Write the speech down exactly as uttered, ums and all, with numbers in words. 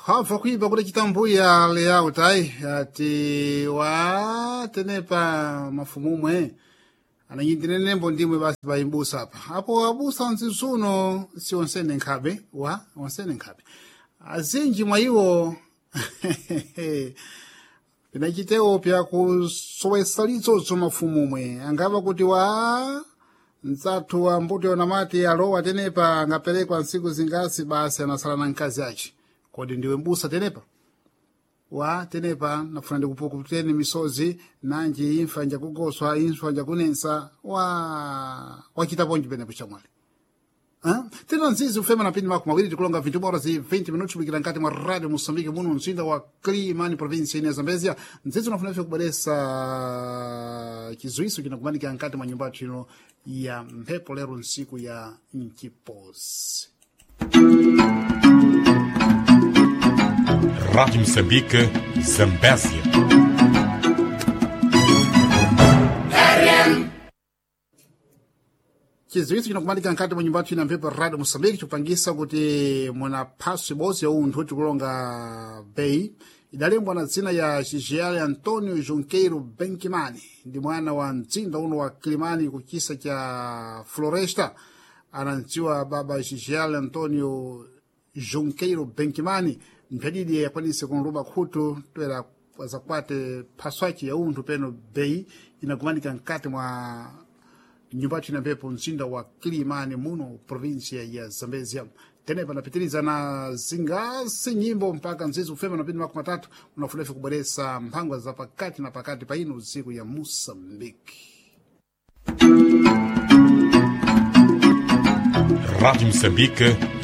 Hava kuipa kuti chitambuya layout ayi ati wa tenepa mafumumwe ananyindinenembo ndimwe basi bayimbusa apa apo abusa mzinsuno si onsene nkhabe wa onsene nkhabe azinji mwa iwo pinachitewo pyakusowesa litsotso mafumumwe angava kuti wa mdzathu wa mbuto yonamati alowa tenepa angaperekwa ntsiku zingasi basi anasala na mkazi ace kodi ndiwe mbusa tenepa wa tenepa nafuna ndikupukuteni misozi nanji imfa njakugoswa imfa njakunensa wa wachitaponji penepo chamwali tena nzizi ufema na pindi mako mawiri tikulonga vintu bora zi vinte minutos kubikira nkati mwa radio Moçambique muno mzinda wa Climane província ine ya Zambezia. Nzizi unafuna ife kubweresa chizuiso chinakumanika nkati mwa nyumba chino ya mphepo lero nsiku ya nchiposi. Rádio Moçambique, Zambésia. Chiziwiso chinakumanika nkati mwa nyumba ina mphepo radio Moçambique chikupangisa kuti munaphaswi ibodzi ya unthu tikulonga bei idalembwa na dzina ya Gigiale Antonio Junqueiro Benkimani ndi mwana wa mzinda uno wa Kilimani kuchisa cha Floresta anamdziwa baba Gigiale Antonio Junqueiro Benkimani mphadidi yakwanise kunluba khutu toera zakwate phaswaci ya unthu peno bei inakumanika nkati mwa nyumba ina mphepo mzinda wa Kilimani muno província ya Zambezia tenepa napitiriza na zingasi nyimbo mpaka mzizi ufema napindi makumi matatu unafunefe kubweresa mphangwa za pakati na pakati pa ino usiku ya Moçambique. Rádio Moçambique,